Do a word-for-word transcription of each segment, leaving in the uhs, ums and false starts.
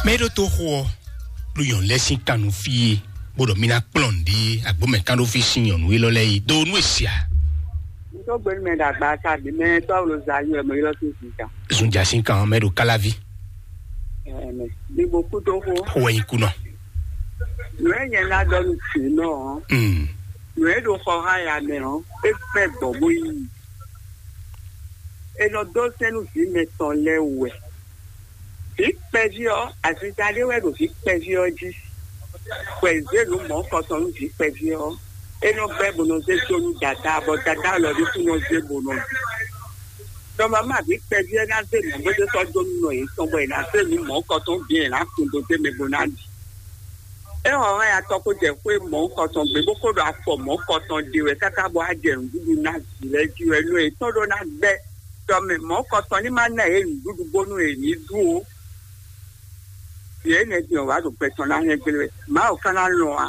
Mɛ e ɖó toxo ɔ́, ɖo nyɔ̌nu lɛ́ɛ sín kan nú fí e, bó ɖɔ mí ná kplɔ́n nǔɖé agbǒmɛ kán ɖó fí sín nyɔ̌nu élɔ́ lɛ́ɛ é dó nú e sia. N tó gbé nú mɛ ɖagba ta bǐ mɛ tɔ́ lo za yɔ mɛ ylɔ́ tó zǐn ta. Zunja sín kan ɔ́, mɛ ɖo káláví. Ɛmɛ, ní bo kú tó xó. Xó wɛ nyí kú nɔ. Nǔ e nyɛ ná ɖɔ nú tǐ nɔ ɔ́, Mm. nǔ e ɖo xɔ há ya mɛ ɔ́, é kpɛ́ gbɔ̌ bó yí. È nɔ dó sɛ́n nú vǐ mɛtɔn lɛ́ɛ wɛ. Vǐ kpɛví ɔ́, azinzá ɖé wɛ ɖo vǐ kpɛví ɔ́ jí. Bɔ è zě nǔ mɔ̌kɔtɔn nú vǐ kpɛví ɔ́, é nɔ gbɛ́ bó nɔ zé dó nú dadá, bɔ dadá lɔ ɖésú nɔ zé bó nɔ ɖu. Dɔmama vǐ kpɛví ɔ́ ná zé nǔ bó zé sɔ́ dó nú nɔ yětɔn, bɔ è nǎ zé nǔ mɔ̌kɔtɔn bǐ è nǎ kun dó zé mɛ bó ná ɖi. É hɔn hɛn atɔ ko jɛ xwé mɔ̌kɔtɔn gbé bó ko ɖo afɔ mɔ̌kɔtɔn ɖe wɛ káká bɔ á jɛ nǔɖuɖu ná vǐ lɛ́ɛ jí wɛ nú yětɔn ɖó ná gbɛ́. Tɔmɛ mɔ̌kɔtɔn ní má ná yě nǔɖuɖu bónú yě ní ɖu ó. Yě énɛ́ din ɔ́ wǎ ɖo gbɛ tɔn ná hɛn gbé wɛ. Mawu ka ná lɔn a?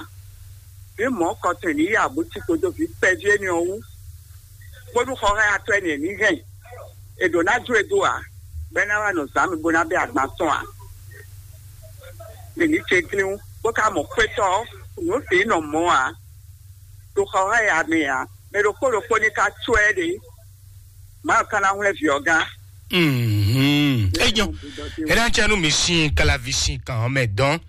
Vǐ mɔ̌kɔtɔn ní yí abú tí kpódó vǐ kpɛví énɛ́ ɔ́ wú. Bónú xɔxɔ́yatɔ́ énɛ́ ní hɛn. È ɖǒ ná jó e dó ǎ, bɔ é ná wá nɔ zǎn mi bó ná bɛ́ agban tɔn ǎ. Mǐ ní ce glín bó ka mɔ xwétɔ́ ɔ́, nǔ sǐ nɔ mɔ̌ ǎ. Ɖo xɔxɔ́ya mɛ ǎ, mɛ ɖokpó ɖokpó ní ka có ɛ ɖe. Mawu ka ná hwlɛ́n vǐ ɔ́ gán. Mhm. Enyo. Ena tsɛ nu mi sin kalavi sin kan ɔ́ mɛ dɔn.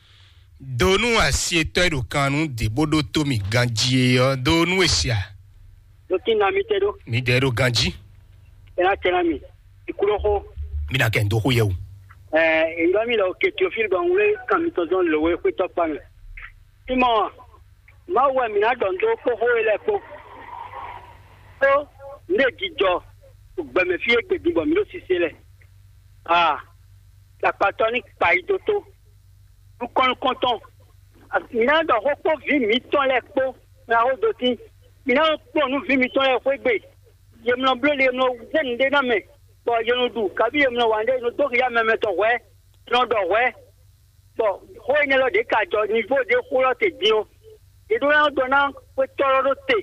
Do nú asi etɔ́ e ɖo kan nú dě bó ɖó tó mi ganjí é ɔ́, do nú esia. Ɖo kí na mi tɛ ɖó. Mi dɛ ɖo ganjí. Ena tsɛ na mi. Ikúɖó xó. Mi na kɛ ndo xó yɛ o. Ɛɛ, èyí mi lɔ ke Teofil bɔ ŋwlé kan mi tɔn zɔn lǒwe xwétɔ́ kpa mi. Simɔ, Mawu wɛ mǐ ná ɖɔ nǔ dó kpó xó e lɛ́ɛ kpó. Ó, nǔ e jijɔ gbɛmɛ fí e gbe din bɔ mǐ ɖo sise lɛ. Aa, akpatɔ ní kpa yi dó tó. Nukɔn nukɔntɔn, mǐ ná ɖɔ xó kpó vǐ mǐtɔn lɛ́ɛ kpó, mɛ aho dó tín. Mǐ ná kplɔ́n nú vǐ mǐtɔn lɛ́ɛ xwé gbe. Yě mlɔ bló le, yě mlɔ zé nǔɖé ná mɛ, bɔ yě nɔ ɖu, kabí yě mlɔ wǎn ɖé, yě nɔ dó xi yá mɛ mɛtɔn hwɛ̌, yě nɔ ɖɔ hwɛ̌. Bɔ xó énɛ́ lɔ ɖě ka jɔ nivo ɖé xó lɔ te din ɔ́, è ɖó ná ɖɔ ná xwetɔ́ lɔ ɖó te,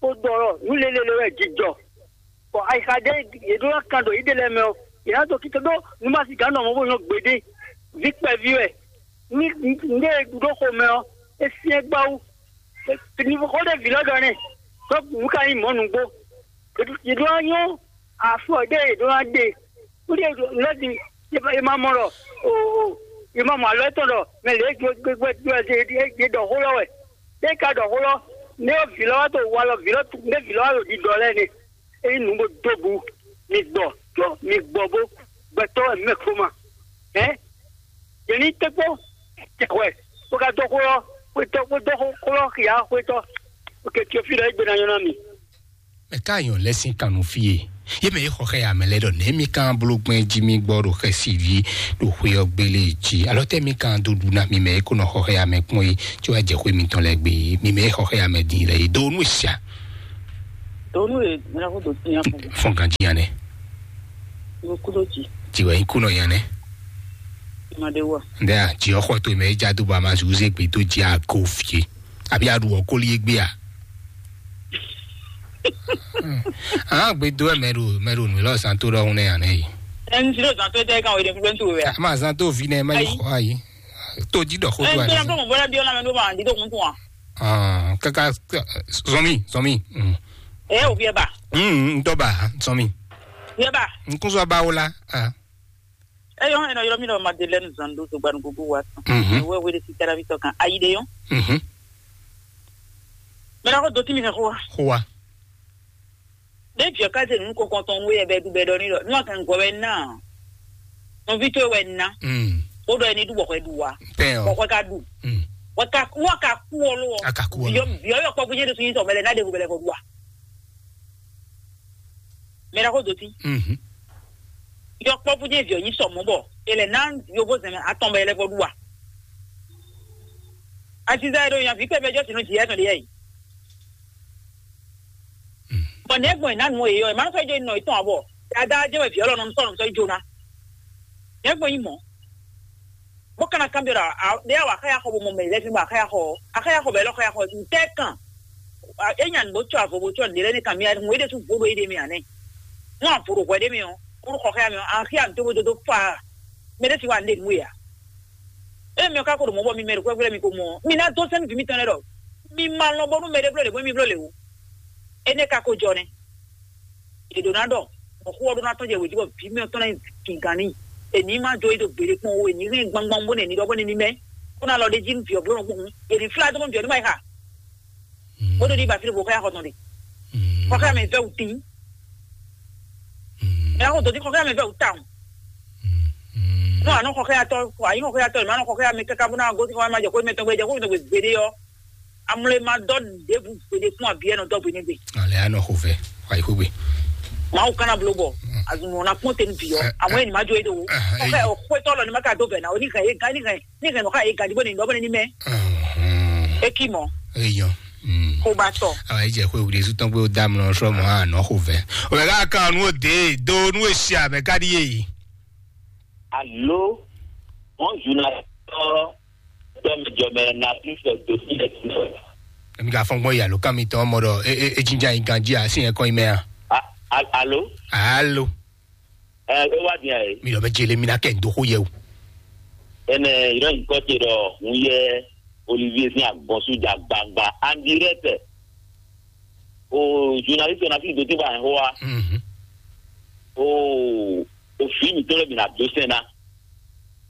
bó ɖɔ ɖɔ nǔ lélele wɛ jijɔ. Bɔ ayixa ɖé è ɖó ná kan ɖo yěɖée lɛ́ɛ mɛ ɔ́, è nǎ dó kíkɛ ɖó nú ma sí gǎn nɔ mɔ bó nyɔ́ gbeɖé, vǐ kpɛví wɛ. Ní ní e ɖu ɖó xomɛ ɔ́, é syɛ́n gbáwú. Nivo xó ɖé vǐ lɔ ɖɔ nɛ́, ɖó nǔ ka nyí mɔ̌ nǔgbó. È ɖó ná nyɔ́ afɔ ɖé è ɖó ná ɖe. Kúɖí lɔ din, è ma mɔ ɖɔ o, è ma mɔ alɔ tɔn ɖɔ mɛ lě gbɛgbɛgbɛ ɖɔ xó lɔ wɛ. Ɖé ka ɖɔ xó lɔ, nɛ ɔ́ vǐ lɔ wá to walɔ vǐ lɔ tu nɛ vǐ lɔ wá ɖo ɖiɖɔ lɛ́ɛ nɛ. É nyí nǔ bó dó bu, mi gbɔ, tó mi gbɔ bó gbɛtɔ́ wɛ mɛ kó ma. Hɛn, yě ní tɛ́ kpó tɛ́ hwɛ, bó ka dó xó lɔ, xwétɔ́, bó dó xó lɔ xia xwétɔ́. Oke, Teofílɔ, é gbe ná nyɔ́ ná mi. Mɛ ka nyɔ lɛ sín kan nú fí e? Yé mɛ e xɔ xɛ amɛ lɛ ɖɔ nɛ mi kan bló gbɛn jí mi gbɔ ɖo xɛsi ví ɖo xwé ɔ́ gbélé jí. Alɔ tɛ mi kan dó ɖu ná mi mɛ e kó nɔ xɔ xɛ amɛ kpɔn é, tí wàá jɛ xwé mitɔn lɛ gbé. Mi mɛ e xɔ xɛ amɛ dín lɛ é dó nú sia. Donu e mira ko do tiɲɛ fún. Fɔn kan jí yanɛ. Mo kudo ji. Tí wàá kú nɔ yanɛ. Ma de wa. Ndɛ a, tí ɔxɔ tó mɛ e já dó ba ma zu zé gbé tó jí a ko fie. Àbí a ɖu ɔkóli e gbé a? Àwọn gbé dó ẹ mɛ ɖo mɛ ɖo nù lọ zan tó ɖɔhun nɛ yanɛ yi. Ẹni tí ló zan tó tẹ́ ká wọ́n yẹ fúnpẹ́ tó rẹ̀. A máa zan tó fi nẹ mẹ yìí xɔ ayi. Tó jí dɔ xó tó Ẹni tó yẹ ayi. Fún bọ́lá bí ọlá mi ló máa di tó kún fún wa. Ah, kaka zɔmi zɔmi. Mm. Ẹ ò fi ẹ bà. Mm, n tọ́ bà zɔmi. Fi ẹ bà. N kún sọ báwo la. Ah. Ẹ yọ ẹ nọ yọrọ mi lọ Madeleine Zando tó gbanu gbogbo wa tán. Mhm. Ẹ wẹ wẹlé sí tẹ́lá mi tọ́ kan ayíde yọ. Mhm. Mẹ lọ kó dotí mi fẹ́ kó wa. Xó wa. Ɖé viɔ ká zé nǔ kɔkɔn tɔn wé ɛbɛ ɖu bɛ ɖɔ ní ɖɔ ní wà kàn gɔ wɛ ná. Nɔví tó wɛ ná. Mm. Ó ɖɔ ẹni ɖu bɔkɔ ɖu wa. Pɛ ɔ. Bɔkɔ ká ɖu. Mm. Wà ká wà ká kú ọ ló. A ka kú ọ ló. Viɔ viɔ yɔ kpɔkú jẹ́ ɖe sun yín sɔ mɛlɛ ná ɖe vo bɛlɛ fɔ ɖu wa. Mɛ ɖa kó dotí. Mhm. Yɔ kpɔkú jẹ́ viɔ yín sɔ mɔ bɔ. Ele ná yovo zɛmɛ atɔn bɛ lɛ fɔ ɖu wa. Aziza yɛ ɖo yan vi kpɛ bɛ jɔ sinɔ jì yɛ tɔn ɖe yɛ yi. Bɔn nɛgbɔn yìí nánu èyí ɔ, ìmọ̀ sɔ́ jẹ́ nɔ ìtàn àbọ̀. Dada jẹ́ wẹ̀ fi ọlọ́run sọ̀rọ̀ sọ ìjọba. Nɛgbɔn yìí mọ̀. Bó kana kan bẹ̀rẹ̀ a, a, de awa akaya xɔ bó mɔ mɛ lẹ́sìn bó akaya xɔ, akaya xɔ bẹ̀ lọ́ akaya xɔ ntẹ́ kan. E nya nìbó tsɔ avɔ bó tsɔ nìlẹ́ ní kan mi a ŋun e de tún vo ɖo e de mi anɛ. Ŋun avo ɖo hwɛ ɖe mi ɔ, kúrú xɔ xɛya mi ɔ, an xia mi tó bó dodo fa. Mɛ ɖe si wa ne nue ya. Ée mi ɔ́ ka ko ɖo mɔ̌ bɔ mi mɛ ɖo xwɛ́xwɛ mi ko mɔ ɔ́, mi ná dó sɛ́n nú vǐ mitɔn lɛ́ɛ ɖɔ mi ma lɔn bónú mɛɖé bló lě bó mi bló lě ó. Énɛ́ ka ko jɔ nɛ́. È ɖǒ ná ɖɔ, mɔ̌ xó ɔ́ ɖó ná tɔ́n jɛ wějí bɔ vǐ mitɔn ná nyi gǐngán n'i. È ní ma jó é ɖo gbeɖé kpɔ́n ó, è ní hɛn gbangban bó nɛ ní ɖɔ bó nɛ ní mɛ. Bó ná lɔ ɖ'é jí nú vǐ ɔ́ bló nɔ kpɔ́n hǔn, è ní flá dó mɔ vǐ ɔ́ ní ma yi xa. Bó ɖo ní ba fí ɖo bó xɔ ya xɔ tɔn ɖe. Xɔ xɛ mɛ vɛ wǔ tín. Ɛ xɔ dɔdí xɔ xɛ mɛ vɛ wǔ tawun. Nú ànɔ xɔ xɛ atɔ, àyí xɔ xɛ atɔ, mɛ anɔ xɔ xɛ mɛ kaka bó ná gosí xɔ ma jɛ xó mɛ tɔn gbé jɛ xó mɛ tɔn gbé gbeɖé ɔ́. Amlé ma dɔ ɖěbǔ gbéɖé fún abiyɛ nɔ dɔ gbé nɛgbé. Ale anɔ xo vɛ, wa yi xo gbe. Mawu kana blo bɔ. Azun na kpɔn tenu bi yɔ. Amɔ eni ma jo edo. Ɔkɛ ɔkɔtɔ lɔ ni ma ka do bɛ na o ni hɛn e ga ni hɛn ni hɛn nɔ ka e ga di bɔ ni nɔ bɔ ni mɛ. Eki mɔ. Eyɔn. Ko ba tɔ. Awa yi jɛ xwe wuli su tɔn pé o da mlɔ sɔ mɔ anɔ xo vɛ. O bɛ ka kan nu o de do nu e si amɛ ka di ye yi. Alo, wọn zuna tɔ tɔmɛ jɔmɛ na kristu do si yɛ tun. Emi ka fɔn gbɔn yalo kan mi tɔn mɔ dɔ e e e jinja yi ganji a si yɛ kɔn yi mɛ a. Alo. Alo. Ɛ e wa diɛ ye. Mi lɔ bɛ jele mi na kɛ ndo xo yɛ o. Ɛnɛ yɔrɔ yi kɔ te dɔ hun yɛ Olivier sin agbɔnsu ja gbangba andirɛtɛ. O journaliste na fi do ti ba hɛn hoa. O o fi mi tɔlɛ mi na do sɛn na.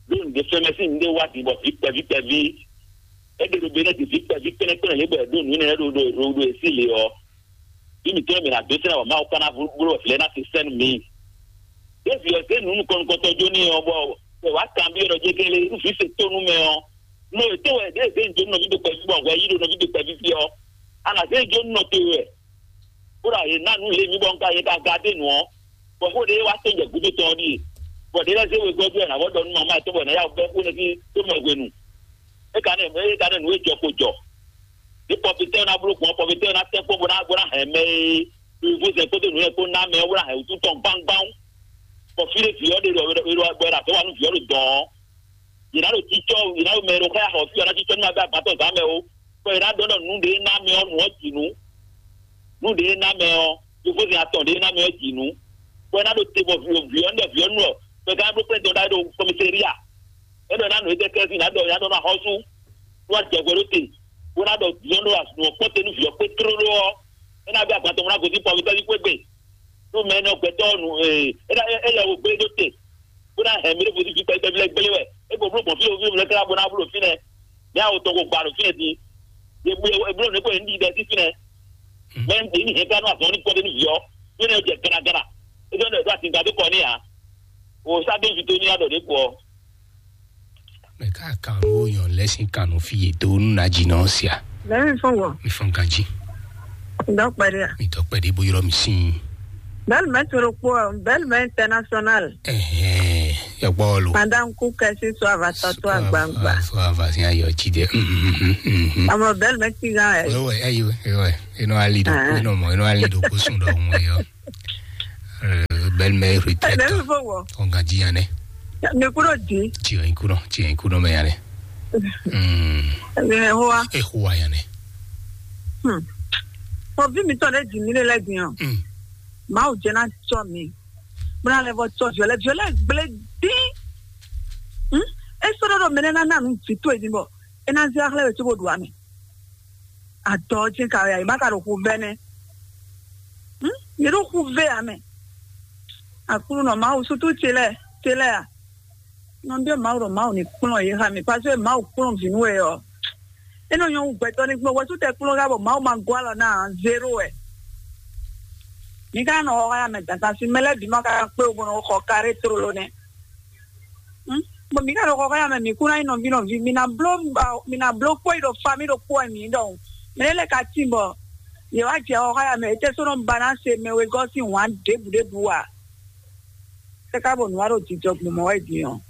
Ló ń de fɛmɛ sí ní wá di bɔ vi kpɛví kpɛví. Ebe ɖo be ne di vi kpɛví kpɛnɛkpɛnɛ lé bɔ ɖo nǔ nɛ ɖo ɖo ɖo ɖo esi le ɔ. Bí mi tɔlɛ mi na do sɛn na bɔ Mawu kana bló vlɛ na se sɛn mi. Ɖevi ɔ zé nǔ nukɔn nukɔntɔ jó ní ɔ bɔ wá kan bí ɔ ɖɔ jégélé nú fi se tó nú mɛ ɔ. Nɔ ètò wɛ ɖe zé ń jó nɔví do kpɛví bɔ hwɛ yí ɖo nɔví do kpɛví fi ɔ. Ana zé ń jó nɔ to wɛ. Kódà yě ná nǔ lé mì bɔ un ka yě ka ga dé nǔ ɔ́, bɔ xó ɖé wá tó jɛ gúdo tɔn ɔ́ ɖíe, bɔ ɖě lɛ́ɛ zé wegɔ́ jɔ ɛ nǎ vɔ ɖɔ nú mama yɛtɔn bɔ è nǎ yá wú bɛ́ xó nɛ́ fí tó mɛ hwenu. É ka nɛ é ka nɛ nǔ e jɔ ko jɔ. Ní pɔfitɛ́ ná bló gbɔn pɔfitɛ́ ná tɛ́ kpó bó ná bó ná hɛn mɛ e vo zɛ kpódó nǔ lɛ́ɛ kpó ná mɛ ɔ́ bó ná hɛn wútu tɔn gbáŋgbáŋ. Bɔ fí ɖé vǐ ɔ́ ɖe ɖɔ bɔ è ɖo azɔ̌ wa nú vǐ ɔ́ ɖo dɔ̌n ɔ́, yě ná ɖo cícɔ́ yě ná ɖo mɛ e ɖo xá xɔ fí ɔ́ ná cícɔ́ ní ma bɛ́ agbátɔ zǎn mɛ ó. Bɔ yě ná ɖɔ ɖɔ nǔ ɖé ná mɛ ɔ́ nǔ ɔ́ jǐ nú. Nǔ ɖé ná mɛ ɔ́, yovózɛn atɔn ɖé ná mɛ ɔ́ jǐ nú. Bɔ é ná ɖo te bɔ vǐ vǐ ɔ́ nú vǐ ɔ́ nú ɔ, bɔ é ka ná bló kplɛ́n dɔn ɖó kɔmísériya. É ɖɔ ná nǔ é jɛ kɛ́sí ná ɖɔ ná ɖɔ ná xɔ́sú. Nú wá jɛ hwɛ ɖó te, bó ná ɖɔ vǐ ɔ́ nú azǔn ɔ́ kpɔ́n te nú vǐ ɔ́ kpé tlóló ɔ́, é ná bɛ́ agbátɔ mɔ ná gosín pɔmítɔ́ ní xwé gbe. Ɖó mɛ énɛ́ ɔ́ gbɛtɔ́ ɔ́ nu ee é ná é yɛ wo gbé ɖó te bó ná hɛn mɛ ɖé vodún fi kpɛɖé tɛ́nfí lɛ́ɛ gbélé wɛ é ko bló gbɔn fí wo fí lɛ́ɛ kára bó ná bló fínɛ́. Mɛ awo tɔn ko gba ɖo fínɛ́ din. Eblo eblo ne ko yě ní ɖi ɖɛ sí fínɛ́. Mɛ yě ní hɛn ká nú azɔn ní kpɔ́ ɖé ní vǐ ɔ́ fínɛ́ jɛ garagara. É jɔ ɖɔ ɖo asinka dó kɔ ní ǎ. O sá dó vi tó ní aɖɔ ɖě kɔ. Mɛ ka kan wo yɔn lɛ sin kan no fi ye do nu na ji nɔ sia. Lẹ́yìn fún wọ, mi fɔn ganji. Dɔkpɛdɛ. Mi dɔkpɛdɛ bo yɔrɔ mi sin. Bɛlmɛ toro kpɔ, bɛlmɛ international. Ɛhɛn, yɔkpɔ lo. Madame Kukɛ si so ava tɔtɔ agbangba. So ava si ayɔ ji dɛ. Ɔmɔ bɛlmɛ ti gan ɛ. Ewe, ewe, ewe. Eno ali do, eno mo, eno ali do ko sun do mo yo. Bɛlmɛ retraite. Lẹ́yìn fún wọ. Ɔn ganji yan nɛ. Mi kúrò di. Tiɲɛ kúrò, tiɲɛ kúrò mɛ yan nɛ. Ɛnɛ hoa. E hoa yan nɛ. Fɔ bí mi tɔ ɖe dzi mi lé lɛ din ɔ. Mawu jɛ na tsɔ mi. Bó na lɛ vɔ tsɔ viɔlɛ viɔlɛ gblé dín. E sɔ́ ɖɔ ɖɔ mɛ nɛ na na nu vi tó e din bɔ e na zɛ axlɛ wɛ tó bó ɖu amɛ. Adɔ jɛ ka ya yi ma ka ɖo xu vɛ nɛ. Yě ɖo xu vɛ amɛ. Aklúnɔ Mawu sútú ce lɛ ce lɛ a. Nɔ ɖe Mawu ɖɔ Mawu ní kplɔ́n yě xa mi, parce que Mawu kplɔ́n vǐ nú we ɔ́. É nɔ nyɔ́ wú gbɛtɔ́ ní kplɔ́n wɛsú tɛ kplɔ́n xá bɔ Mawu ma gɔ́ alɔ ná zéro wɛ. Mi ka nɔ xɔ xá mɛ dandan si mɛ lɛ́ɛ bǐ ma ka kpé wo bɔ nɔ xɔ karé tlóló nɛ́. Bɔn mi ka nɔ xɔ xá mɛ mi kú ná nyí nɔví nɔví mi ná bló mi ná bló kpó yi ɖo fa mi ɖo kpó wɛ mi ɖɔhun. Mɛ lɛ́ɛ ka tín bɔ yě wá jɛ xɔ xá mɛ, étɛ́ sɔ́ nɔ ba ná se mɛ wegɔ́ sín wǎn ɖěbǔ ɖěbǔ a? Kaka bɔ nua ɖo jijɔ gbɔn mɔ wɛ din ɔ.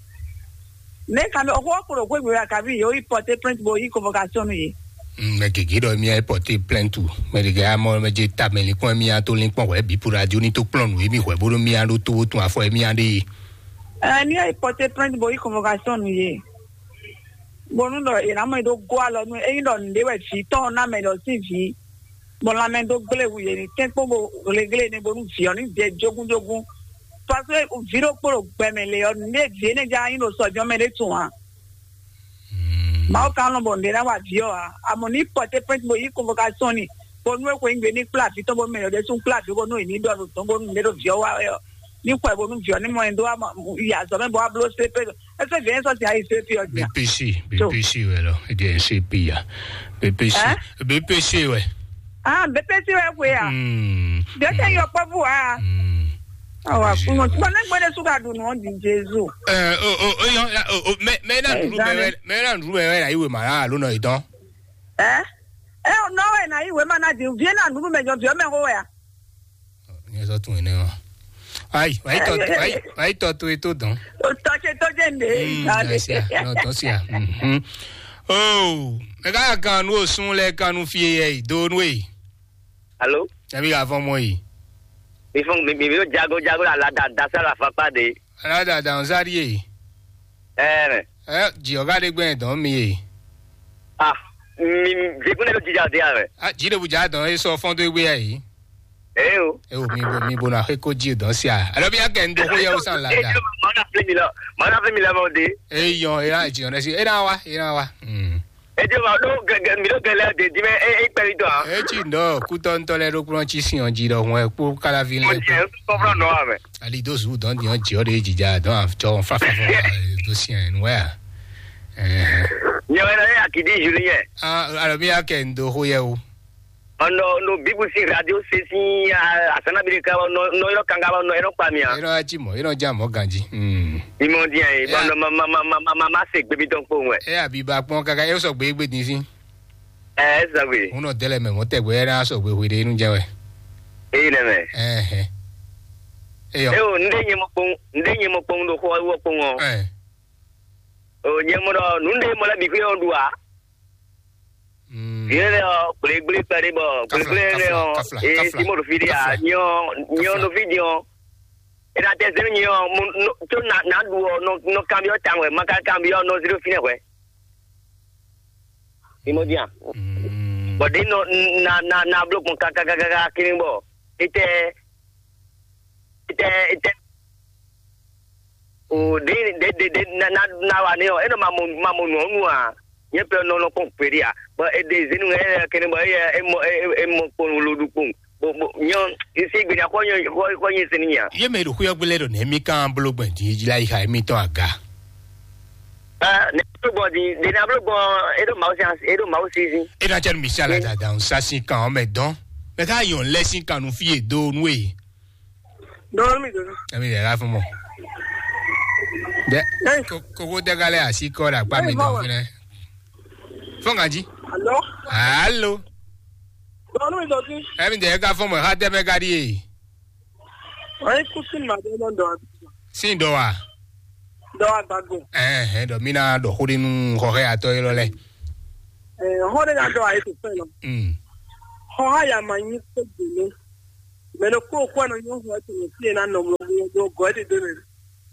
Ne ka mi ɔxɔ kplɔ gbɛgbɛ ya kabi yo yi porter plainte bo yi convocation nu ye. Mɛ gege ɖɔ mía yi porter plainte, mɛ gege amɔ mɛ je ta mɛ linkpɔn mía to linkpɔn wɛ bi pour radio ni to kplɔn nu emi wɛ bo ɖo mía ɖo to tun afɔ mía ɖe ye. Ɛ ni yi porter plainte bo yi convocation nu ye. Bonu ɖɔ yena mɔ do go alɔ nu eyi ɖɔ nde wɛ vi tɔn na mɛ ɖɔ si vi. Bɔ lanmɛ dó gblé wu yě ní tɛ́nkpɔ́n bó hleglé énɛ́ bónú vǐ ɔ́ ní jɛ jógúnjógún. Paseke vǐ ɖokpó ɖo gbɛ mɛ lě ɔ́, nǔɖé vǐ énɛ́ já nyí ɖo sɔjɔ́ mɛ ɖé tun ǎ. Mawu ka nɔ bɔ nǔɖé ná wa vǐ ɔ́ ǎ. Amɔ ní pɔtɛ́ pɛ́nti bó yí convocation ni, bónú é xweyígbe ní kplá vǐ tɔn bó mɛ ɔ́ ɖésú kplá vǐ bónú è ní ɖɔ nǔ tɔn bónú nǔɖé ɖo vǐ ɔ́ wa wɛ ɔ́, ní xwɛ bónú vǐ ɔ́ ní mɔ ɛ dó yi azɔ̌ mɛ bó wá bló sé pé. Ɛ sɔ́ vǐ ɔ́ ní sɔ́ sin ayi sé pé ɔ́ jí a? B P C, So. B P C wɛ lɔ, é jẹ́ C P ya. B P C, Hein? B P C wɛ. Ah, B P C wɛ xwe a? Hmm. Ɖé tɛ yɔ kpɔ́ bú a? Hmm. Awa B P C kunu wɛ. Tí wọn lé gbé ɖé súgà dùn nù ɔ́ di Jésù. Ɛ, o, o, o, yɔ, o, o, mɛ, mɛ na Ɛ, nɖu mɛ zan wɛ, mɛ na nɖu mɛ wɛ na yi wema la alo nɔ yi dɔn. Ɛ? Ɛ, o nɔ wɛ na yi wema na di, vie na nɖu mɛ jɔ viɔ mɛ xo wɛ a? Ní ẹ sɔ tún yẹn náà. Ayi, wàá yí tọ́, wàá yí, wàá yí tọ́ tó e tó dán. O tɔ ṣe tó jẹ́ ǹdè. Mm, ìgbà rẹ̀. Ẹ ṣe à, náà tọ́ sí à. Mhm. Oh, ẹ ká kan nú òsùn lẹ kan nú fi ẹ yìí dó nú èyí. Alo? Ẹ bí ka fọ́n mọ́ yìí. Mi fún mi mi yóò jago jago la la da da sá la fa pa de. Aládàá dàn sáré yìí. Ẹ mẹ. Ẹ jì ọ̀gá dé gbẹ̀yìn dán mi yìí. Ah, mi mi jẹkúnlẹ̀ ló jíjà dé àwẹ̀. A jì dé bùjá dán e sọ fọ́n tó gbé yà yìí. Ẹ o. E o mi bo mi bo na xe ko ji dɔn sia. Alo bi akɛ ndo ko yɛ o san la da. Mɔna fili mi lɔ, mɔna fili mi lɔ mɔ de. E yɔn e na ji yɔn dɛ si e na wa e na wa. Mm. E jẹ ma do gẹgẹ mi do gẹlẹ de di mɛ e e kpɛ mi dɔn a. E ji ndɔ kutɔ ntɔ lɛ do kplɔn ci si yɔn ji dɔ hun ɛ kpo kala vi Mo lɛ. Jẹ kɔfrɔ nɔ wa mɛ. Ali do zu dɔn di yɔn ji ɔ de ji ja dɔn a jɔ fa fa fa do si yɛn nu wɛ a. Ɛɛ. Nyɛ wɛ nɔ ye akidi Julien. Ah, alo mi akɛ ndo ko yɛ o. Ɔnɔ no bibu si radio sesi asana bi de ka nɔ nɔ yɔrɔ kanga nɔ yɔrɔ kpa mi a. Yɔrɔ aji mɔ, yɔrɔ ja mɔ ganji. Hmm. Imɔ diɛ ye Yeah. Bɔn ma ma ma ma ma ma ma se gbebi dɔn kpowun wɛ. E abi ba kpɔn kaka e sɔ gbe gbe din si. Ɛ ɛ sɔ gbe. Ŋun nɔ dɛlɛ mɛ mɔ tɛgbɛ yɛ na sɔ gbe hwe de nu jɛ wɛ. Eyi nɛ mɛ. Ɛhɛ. Eyɔ. E o nde nye mɔ kpɔn nde nye mɔ kpɔn do xɔ wɔ kpɔn ɔ. Ɛ. O nye mɔ dɔ nunde mɔ lɛ bi xwe ɔ du a. Mm. Yele ɔ gblégblé kpɛɖé bɔ Kafla, gblégblé nɛ kafla, ɔ kafla, ee kafla, simo ɖo fi ɖe a kafla, nyɔ nyɔ kafla. Ɖo fi din ɔ. Ena tɛ zɛn nyɛ ɔ mo no tso na na ɖu ɔ nɔ nɔ kanbyɔ tawɛ ma ka kanbyɔ nɔ zero fi nɛ hwɛ. Simo din a. Mm. Bɔ ɖe nɔ na na na blo gbɔn kakakaka kini bɔ etɛ etɛ etɛ. O ɖe ɖe ɖe ɖe na na na wa ne ɔ enɔ ma mo ma mo nɔ nu a. Nye pe nɔ nɔ kpɔn peri a bɔ e ɖe zenu ɛ kene bɔ e e mɔ e e mɔ kpɔn lo ɖu kpɔn bo bo nyɔ esi gbe nya kɔ nyɔ kɔ kɔ nyi sini nya. Ye mɛ ɖo xuyɔ gbélé ɖo nɛ mi kan blo gbɛn di la yi xa mi tɔn aga. Ah, ne blo gbɔn di de na blo gbɔn e ɖo mawu si e ɖo mawu si si. E na cɛ mi si ala dada n sa si kan ɔmɛ dɔn mɛ ka yɔn lɛ si kan nu fi e do nu e. Dɔɔni mi dɔɔni. Emi de la fún mɔ. Dɛ Ɛ. Ko- koko dɛgalɛ asi kɔ ɖe akpa mi dɔn fún ɛ. Fɔn kan jí. Alo. Alo. Dɔɔni mi dɔɔni. Emi de ka fún mɔ ha dɛ mɛ ka ɖi ye. Ayi kusin ma dɛ nɔ dɔn. Sin dɔ wa. Dɔ wa gbago. Ɛhɛn dɔ mi na dɔ xo ɖe nu xɔxɛ atɔ yi lɔ lɛ. Ɛɛ hɔn de na dɔ ayi to fɛn lɔ. Mm. Hɔn ha ya ma nyi ko gbele. Mɛ ɖokpó xɔ nɔ nyɔ xɔ tɔn fi na nɔ mlɔ mlɔ do gɔ de do ne.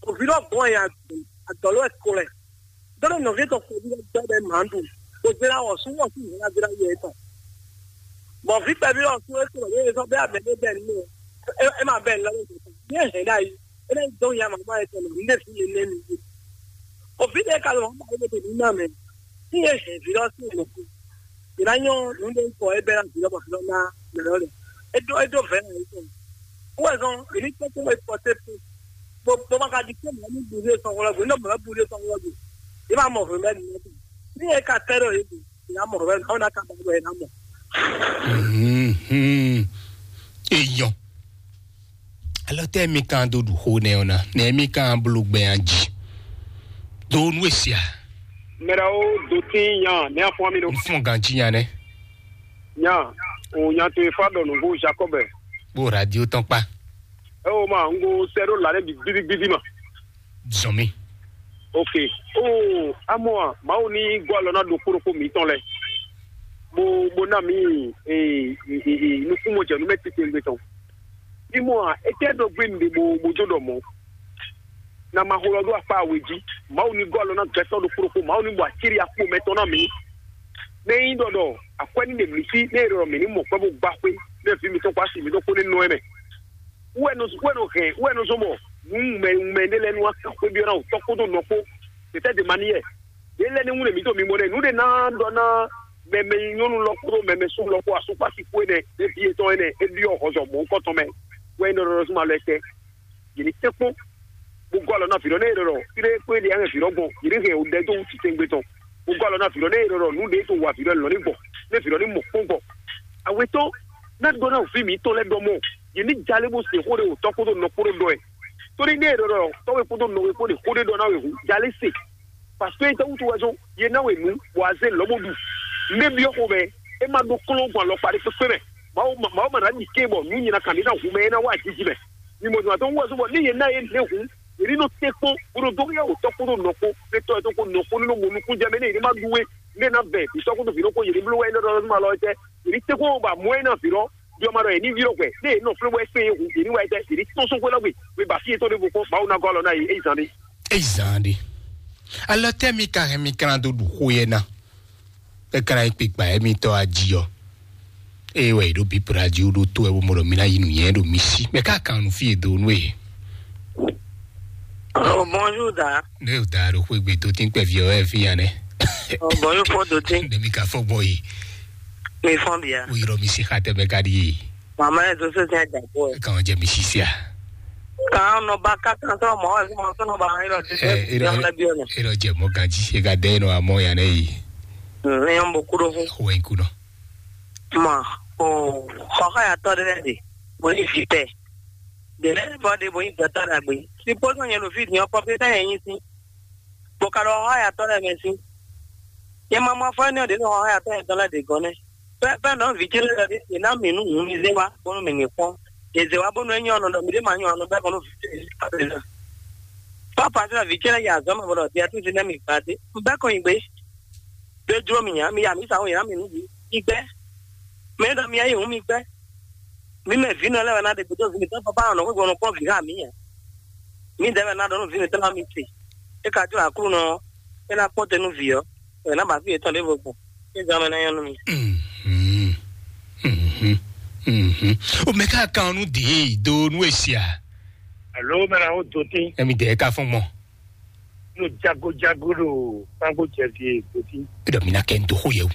O vi lɔ gbɔn ya adɔlo e ko lɛ. Dɔnɔ nɔvi tɔ xɔ vi lɔ gbɛ bɛ ma ɖu. O zera wɔ su wɔ su hɛn na zera yɛ tɔ. Bɔ vi kpɛ vi lɔ su e ko lɛ e sɔ bɛ abɛ ne bɛ ne. E e ma bɛ ne lɔ ne. Ne hɛn da yi. E ne dɔn ya mama e tɔ ne. Ne fi ne ne ni. O vi de ka lɔ ma e de ni na mɛ. Fi e hɛn vi lɔ su ne. Ìlà nyɔ nǔɖé kɔ é bɛ́ ná vǐ lɔmɔ vǐ lɔ ná mɛ lɔ lɛ. É ɖó é ɖó vɛ̌ ná yě tɔn. Wɛ zɔn èmi kpɛ́ kpɛ́ wɛ kpɔtɛ kpɛ́. Bó bó ma ka di kpɛ́ mɔ̌ ní bu ɖé sɔn wlɔ gbé, ní mɔ̌ bu ɖé sɔn wlɔ gbé. Yě ma mɔ vǐ mɛ nìyẹn tɔn. Ní yẹ ká tẹ́ ɖɔ yě gbé, yě ná mɔ vǐ mɛ nìyẹn, ná ka ba ɖɔ yě ná mɔ. Mhm. Èèyàn. Alɔ tɛ mi kan do ɖu xo nɛ ɔna nɛ mi kan blo gbɛ an jí. Do nu esia. Mɛɖewo do tín nya ne afɔ mi ɖo. N fún gan jí nya nɛ. Nya o nya to efa ɖɔ nǔgbó Jacob. Bó radio tɔn kpa. Ɛ o ma n ko sɛ ɖo la ɖe bi gbidigbidi ma. Zɔn mi. Ok. O amɔ a mawu ni gɔ alɔ na ɖo kpóɖokpó mitɔn lɛ. Bo bo na mi ee ee ee nukúnmɔ jɛ nu mɛ titewungbe tɔn. Mimɔ a etɛ ɖɔ gbé mi ɖe bo bo do ɖɔ mɔ. Na ma xo lɔ ɖo akpa awe jí. Mawu ni gɔ alɔ na gbɛtɔ ɖo kpóɖokpó mawu ni bɔ aciri akpo mɛtɔn na mi. Ne yi ɖɔ ɖɔ akwɛ ni ɖe mi sí ne ɖɔ mi ni mɔ kpɛ bo gba xwé ne vi mi tɔn kɔ asi mi ɖo kpó ne nɔ ɛmɛ. Wɛ nɔ wɛ nɔ hɛn wɛ nɔ zɔn bɔ nu mɛ mɛ ɖe lɛ nu aka xwé bi ɔna wò tɔ kpódó nɔ kpó. Tete de mani yɛ. Elɛ́ ní wún ɖe mǐ ɖo mimɔ ɖe nǔ ɖe ná ɖɔ ná mɛmɛ nyɔ́nu lɔ kpódó mɛmɛ sú lɔ kpó asúkpási kpó énɛ́, é vǐ yětɔn énɛ́, é ɖyɔ́ hɔzɔ mɔ̌hunkɔtɔn mɛ, wɛ é nɔ ɖɔ ɖɔ súnma lɔ tɛ́. Yě ní tɛ́nkpɔ́n, bó gɔ́ alɔ ná vǐɖɔ nɛ́ é ɖɔ ɖɔ fí ɖé kpó é ɖe anyɛ vǐɖɔ gbɔn, yě ní hɛn wǔ ɖɛ dó wú titewungbe tɔn, bó gɔ́ alɔ ná vǐɖɔ nɛ́ é ɖɔ ɖɔ nǔ ɖě to wa vǐɖɔ lɔ̌ ní gbɔ, nɛ́ vǐɖɔ ní mɔ kpɔ́n gbɔ. Awetɔ́ ná ɖɔ ná vǐ mǐtɔn lɛ́ɛ ɖɔ mɔ, yě ní jalé bó se xó ɖé wǒtɔ́ kpódó nɔ kpódó ɖɔ ɛ. Tóní nɛ́ é ɖɔ ɖɔ tɔ́we kpódó nɔwe kpó ɖe xó ɖé ɖɔ ná wɛ hǔn, jalé se. Parce que é tɛ́ wútu wɛ zɔ́n yě ná we nǔ, bɔ a zé lɔ̌ bó ɖu. Nɛ́ byɔ́ xomɛ, é má ɖó kɔ́nlɔ́n gbɔn alɔkpa ɖé kpékpé mɛ. Mawu mawu ma ná ɖi ké bɔ nǔ nyi ná kan ɖé ná hu mɛ é ná wá jiji mɛ. Mi mɔ zɔn atɔ́ wú wɛ zɔ́n bɔ ní yě ná yě nɛ́ hu, yě ní nɔ tɛ́ kpɔ́n bó ɖo dó yá wǒtɔ́ kpódó nɔ kpó, fé tɔ́ ɛ tó kpó nɔ kpó ní nɔ mɔ nukún jɛ mɛ ní yě ní má ɖu wé, ní é ná vɛ vǐ sɔ́ kpódó vǐ ɖokpó yě ní bló wɛ é nɔ ɖɔ ɔ́ zɔ́n alɔ tɛ́, yě ní tɛ́ kpɔ́n bɔ amɔ̌ é ná vǐ ɖɔ, ɖyɔ ma ɖɔ yě ní vǐ ɖɔ hwɛ, ní yě nɔ flé wɛ kpé yě hu, yě ní wá yɛ tɛ́, yě ní tɔ́n sɔ́ xwé lɔ́ gbe, wé ba fí yětɔn ɖěvo kpɔ́n, Mawu ná gɔ́ alɔ ná yě, é yi zán ɖé. Éyi zán ɖé. Alɔ tɛ́ mi ka hɛn mi ka ná dó ɖu xó yɛ ná? É ka ná nyí kpikpa émitɔ́ ají ɔ́. Ée wɛ è ɖǒ bǐ praji wú ɖó tó wɛ bó mɔ ɖɔ mi ná yi nǔnywɛ́ ɖo mi sí. Mɛ ká kan nǔ fí e do nú e. Oh, bonjour, da. Ne o da ɖo xwé gbe dó tín kpɛví ɔ́ wɛ fí ya nɛ. Oh, bonjour, fɔ dó tín. Ne mi ka fɔ gbɔ yi. Mi fɔn bia. Wo yrɔ mi si xa tɛ mɛ ka ɖi ye. Mama yɛ tó sɛ sɛ dàgbò ɛ. Kan jɛ mi sisia. Kan nɔ ba ka kan sɔ mɔ ɛ sɔ mɔ sɔ nɔ ba yɛ lɔ ti. Ɛ, e lɔ, e lɔ jɛ mɔ ganji e ka dɛ nɔ amɔ ya nɛ yi. Ne yɔn bo kudo fún. Xo ɛ kudo. Ma o xɔxɔ ya tɔ ɖe de bo yi fi tɛ. De lɛ bɔ de bo yi gbɛtɔ ɖagbe. Supposons nyɛ lo fi diɔ pɔpita yɛ yin si. Bo ka ɖo xɔxɔ ya tɔ lɛ mɛ si. Nyɛ ma ma fɔ ne de xɔxɔ ya tɔ yɛ tɔ lɛ de gɔnɛ. Fɛ́ fɛ́ nɔ vǐ ce lɛ́ɛ ɖɔ ɖe yě ná mì nú hǔn mi zé wá bónú mì ní kpɔ́n. Yě zé wá bónú é nyɔ́ nɔ ɖɔ mǐ ɖé ma nyɔ́ nɔ bɛ́ kɔn nú vǐ ce lɛ́ɛ. Papa ce lɔ vǐ ce lɛ́ɛ yi azɔ̌ mɛ bɔ ɖɔ Beatrice nɛ́ mi gbadé. Un bɛ́ kɔn nyi gbé. Ɖó jló mì ǎ, mi ya mǐ sa xó yě ná mì nú mi. Mi gbɛ́. Mɛ e ɖɔ mi yá yi hǔn mi gbɛ́. Mǐ mɛ vǐ nɔ lɛ́ɛ wɛ ná ɖe gbe dó vǐ mǐtɔn papa nɔ xwé gbɔn nɔ kpɔ́n vǐ xá mǐ ǎ. Mǐdɛɛ wɛ ná ɖɔ nú vǐ mǐtɔn ná mi se. É ka jló Aklúnɔ ɔ́, é ná kpɔ́n te nú vǐ ɔ́, wɛ ná ba fí yětɔn ɖěvo gbɔn. É zán mɛ ná nyɔ́ nú mi. Mhm. Mhm. Mhm. O mɛ ká kan nú dǐ do nú èsì a? Alo mɛ na wo do tín. Emi dɛ ka fɔn gbɔn. Nú jagojago ɖo kpágbó jɛ fi do tín. E ɖɔ mi na kɛ n do xó yɛ o.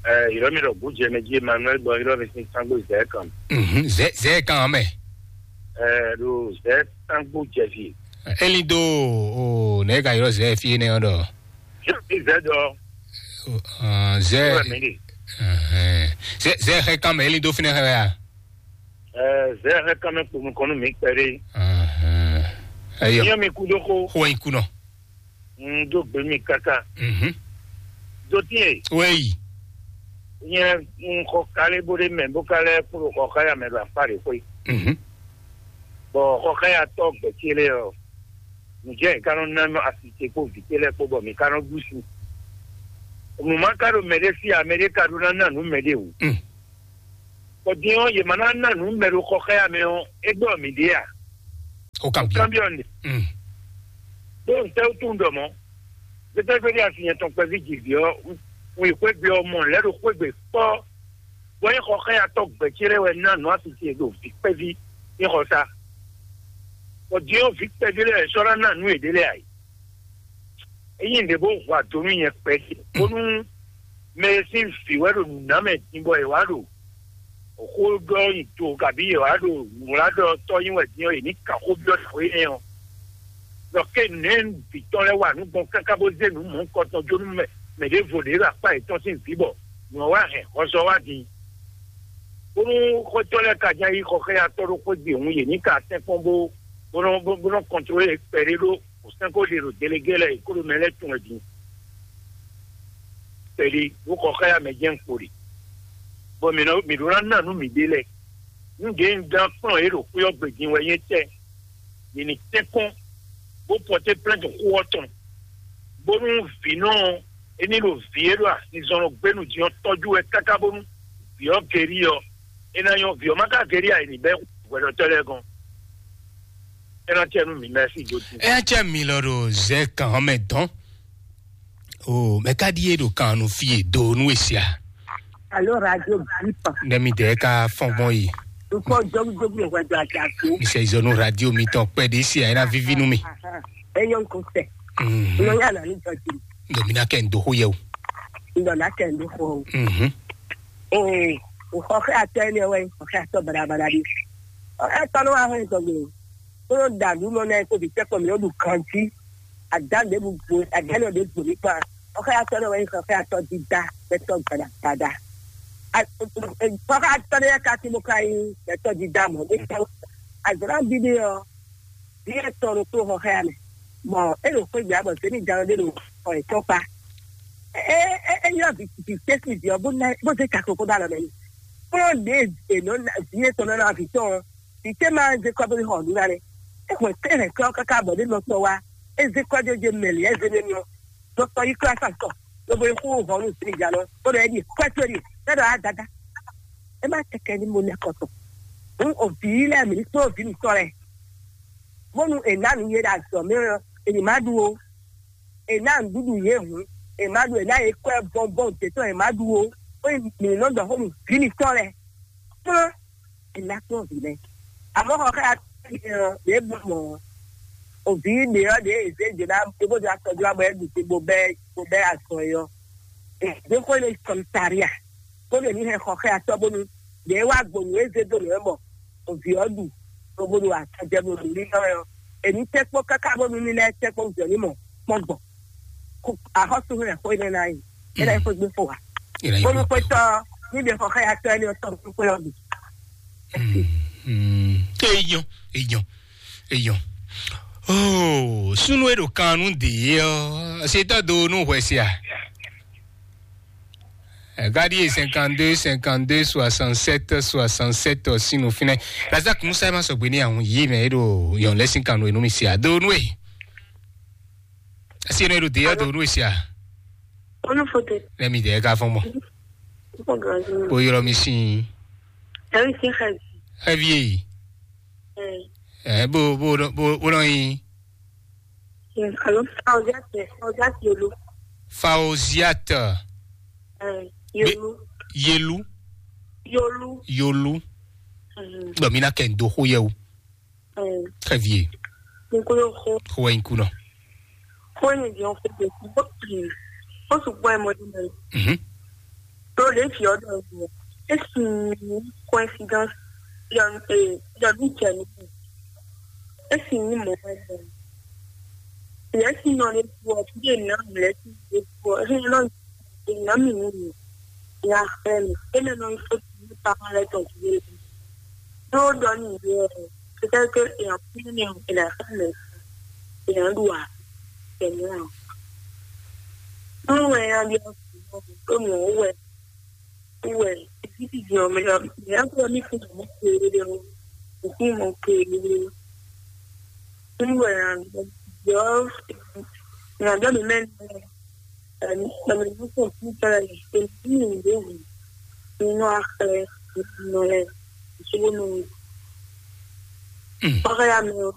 Ɛ, yɔrɔ mi ɖɔ bó jɛ mɛ jí Emmanuel bɔ yɔrɔ mi sin kpágbó zɛ kan. Mhm. Zɛ zɛ kan mɛ. Ɛ, ɖo zɛ kpágbó jɛ fi. Eli do o ne ka yɔrɔ zɛ fi ne ɔdɔ. Zɛ dɔ. Zɛ. Zɛ zɛ xɛ kan mɛ eli do finɛ xɛ ya. Zɛ xɛ kan mɛ kponu kɔnu mi kpɛɖe. Ɛyɔ. Nyɛ mi kudo ko. Xɔ yi kunɔ. N do gbe mi kaka. Do tiɛ. Wɛyi. Nyɛ n xɔ kale bo ɖe mɛ bo ka lɛ kplo xɔ xaya mɛ ɖo akpa ɖe xwe. Bɔ xɔ xaya tɔ gbɛtse lɛ ɔ. Nǔjɛ ka nɔ ná asi ce kpó vǐ ce lɛ́ɛ kpó bɔ mǐ ka nɔ ɖu sin. Nǔ ma ka ɖo mɛɖé sí ǎ, mɛɖé ka ɖó ná ná nǔ mɛɖé o. Bɔ din ɔ́, yě ma ná ná nǔ mɛ ɖo xɔ xá ya mɛ ɔ́, é gbɔ mǐ ɖe a? O kan biɔ. Kan biɔ ne. Ɖó ntɛ́ wútu un ɖɔ mɔ̌? Gbɛtɛ́gbɛ́ ɖi asi nyɛ tɔn kpɛví jǐví ɔ́, un yi xwé gbe ɔ́ mɔ lɛ̌ ɖo xwé gbe kpɔ́. Bɔ é xɔ xá ya tɔ́ gbɛ̌ ce lɛ́ɛ wɛ ná nǔ asi ce ɖo vǐ kpɛví é xɔ sá. Bɔ din ɔ́, vǐ kpɛví lɛ́ɛ sɔ́ ná ná nǔ yěɖée lɛ́ɛ ǎ. É nyí nǔɖé bó hu ado nú nyɛ kpɛɖé, bónú mɛ e sín vǐ wɛ ɖo nǔ ná mɛ din bɔ è wǎ ɖo xó ɖɔ nyi do kabí è wǎ ɖo wlǎ ɖɔ tɔ́ nyi wɛ din ɔ́, è ní kan xó byɔ́ nǎwe énɛ́ ɔ́. Ɖɔ ké nɛ̌ vǐ tɔn lɛ́ɛ wa nǔ gbɔn káká bó zé nǔ mɔ̌hunkɔtɔn jó nú mɛ mɛ ɖěvo ɖě ɖo akpá yětɔn sín vǐ bɔ nǔ ɔ́ wá hɛn hɔzɔ wá din. Bónú xwétɔ́ lɛ́ɛ ka ján yí xɔ xá ya tɔ́ ɖó xwé gbe hǔn, yě ní ka tɛ́nkpɔ́n bó bó nɔ bó nɔ kɔntrolé kpɛɖé ɖó sɛ́n ko ɖe ɖo delegé lɛ́ɛ kó ɖo mɛ lɛ́ɛ tun wɛ din. Kpɛɖé bó xɔ xá ya mɛ jɛ́n kpo ɖe. Bɔ mǐ nɔ mǐ ɖó ná ná nǔ mǐɖée lɛ́ɛ. Nǔɖé un dán kplɔ́n yě ɖo xwé ɔ́ gbe din wɛ nyí tɛ́. Yě ní tɛ́nkpɔ́n bó pɔté plɛ́nti xó ɔ́ tɔn, bónú vǐ nɔ é ní ɖo vǐ e ɖo azinzɔnnɔ gbénu din ɔ́ tɔ́jú wɛ káká bónú vǐ ɔ́ gerí ɔ́, é ná nyɔ́. Vǐ ɔ́ má ka gerí ǎ, è ní bɛ́ hwɛɖɔtɔ́ lɛ́ɛ gɔ́n. É ná tɛ nú mǐ mɛ́ sí jó dín. Eya cɛ mi lɔ ɖo zɛ kan mɛ dɔn. O mɛ ka ɖi e ɖo kan nu fi e do nu e sia. Alo radio bipa. Ne mi dɛ ka fɔn gbɔn yi. Nkɔ jogu jogu le wɛ do ati ato. Mi sɛ izɔ nu radio mi tɔn pɛ de sia ena vivi nu mi. Enyo nkɔ sɛ. Mhm. Nɔ ya na ni jɔ ti. Ɖɔ mi ná kɛ n dó xó yɛ o. Un ɖɔ ná kɛ n dó xó o. Mhm. Ee, xɔxɛ atɔ ɛnɛ wɛ, xɔxɛ atɔ badabada ɖi. Xɔxɛ atɔ nɔ wá hɔn tɔgbe. Kó nɔ da nǔ nɔ nɛ kó bi tɛkɔ mi nɔ ɖu kanti. Ada ɖe bu gbo, ada nɔ ɖe gbo mi kpa. Xɔxɛ atɔ nɔ wɛ, xɔxɛ atɔ dida, bɛ tɔ gbada gbada. Xɔxɛ atɔ nɛ ka ti mo ka yi, bɛ tɔ dida mɔ. Azɔn bibi ɔ, vǐ etɔn ɖo kplɔ́nxɔxɛ́ ɔ́ mɛ, bɔ é ɖo xwé gbě ǎ, bɔ zěmijannɔ ɖé ɖo xɔ yětɔn kpá. É é é ylɔ́ vǐ vǐ tɛ́ sín vǐ ɔ́, bó ná bó zé caklo kó ɖó alɔ mɛ n'i. Kplɔ́n ɖě è nɔ ná vǐ etɔn nɔ ná vǐ tɔn ɔ́, vǐ tɛ́ ma zé kɔ́ bó yi xɔ nǔ ná nɛ́. É hwɛ̌n é hɛn kɔ́ ɔ́ káká bɔ ɖé nɔ tɔn wá, é zé kɔ́ jó je mɛ lě é zé nɛ́ n'i ɔ́, nɔ tɔn yi klá sa kɔ, lobo yi xú hɔn nú zěmijannɔ, bó ɖɔ é ɖi kwɛ́ towe ɖi, é ɖɔ á dada. É má tɛkɛ ní mo nɛ́ kɔtɔn. Hǔn o vǐ lɛ́ɛ mǐ ní kplɔ́n vǐ mǐtɔn lɛ́ɛ, bónú è nǎ nǔ yě ɖo azɔ̌ mɛ ɔ́, è ní má ɖu ó. È nǎ nǔɖuɖu yě hǔn, è má ɖu, è nǎ yě kwɛ́ bɔnbɔn dě tɔn, è má ɖu ó. Ó nyí mǐ nɔ ɖɔ xó nú vǐ mǐtɔn lɛ́ɛ. Kplɔ́n, è nǎ kplɔ́n vǐ lɛ́ɛ. Àmọ́ xɔ xá ɔ́, ɖě bló mɔ̌ ɔ́, o vǐ ɖě ɔ́ ɖě è zě jǒ ná é bó zé akɔjó wá bɔ é ɖu te bó bɛ́ bó bɛ́ azɔn é ɔ́. È zě xó énɛ́ yi kɔmitaria, bónú è ní hɛn xɔ xɛ atɔ́ bónú ɖě wá gbɔn nǔ e zé dó nǔ wɛ bɔ o vǐ ɔ́ ɖu, lobo ɖo akɔjɛ bo ɖu lílɔ́ wɛ ɔ́, è ní tɛ́ kpɔ́n káká bónú ní lɛ́ tɛ́ kpɔ́n jɔ ní mɔ kpɔ́n gbɔn. Axɔ́sú hɛn xó énɛ́ ná yi, é ná yi xwé gbé fo wa. Bónú xwétɔ́ ní ɖe xɔ xɛ atɔ́ énɛ́ ɔ́ tɔn xwé ɔ́ bǐ. Eyɔn, eyɔn, eyɔn. Oh, súnú e ɖo kan nú dě ɔ́, setɔ́ do nú hwɛ se a? Gadi e cinquante-deux, cinquante-deux, soixante-sept, soixante-sept, ɔ́, sín nufínɛ. Lazak Musa e ma sɔgbe ní ahun yí mɛ e ɖo yɔn lɛ sín kan nú e nú mi se a? Do nú e. Asi e nɔ e ɖo dě ɔ́ do nú e se a? Onu fote. Nɛ mi dɛ ka fɔn mɔ. Ko granzi. O yɔrɔ mi sin. Ɛwi sin xɛ. Ɛvi e yi. Ɛ ɛ bo bo bo bo nɔ yi. Alo, Faoziat, Faoziat Yolu. Faoziat. Ɛ, Yolu. Yelu. Yolu. Yolu. Gbɔ mi na kɛ n do xo yɛ o. Ɛ. Très bien. N ko yo xo. Xo wɛ n kunɔ. Xo ni di o xo de. Xo su gbɔ ɛ mɔ di mɛ. Mhm. To le fi ɔdɔ ɛ. Esi coincidence. Yɔ ɛ yɔ du cɛ ni. Esi ni mɔ ɛ. Lɛsi nɔ ne tu ɔ ti de na lɛsi de tu ɔ ɛ nɔ de na mi ni mi. Ya fɛ mi. E mɛ nɔ ifo ti ni pa lɛ tɔ ti de. N'o dɔ ni de ɔ. Peut-être que èèyàn kú ní èèyàn èèyàn fẹ́ lẹ̀ èèyàn lù wá pẹ̀lú àwọn. Wọ́n wẹ̀ ya bí ọkùnrin náà tó mọ̀ ó wẹ̀ ó wẹ̀ títí di ọmọ ya ìyá tó ní fún ọmọ kéré o òkú mọ̀ kéré o. Wọ́n wẹ̀ ya yọ ìrìnàjò mi mẹ́rin náà ẹ̀mí ẹ̀mí ló kàn fún ìtara yìí èmi ní ìlú òun nínú àpẹẹrẹ nínú ẹ̀ ìṣòro nù. Ọ̀rẹ́ ya mi o.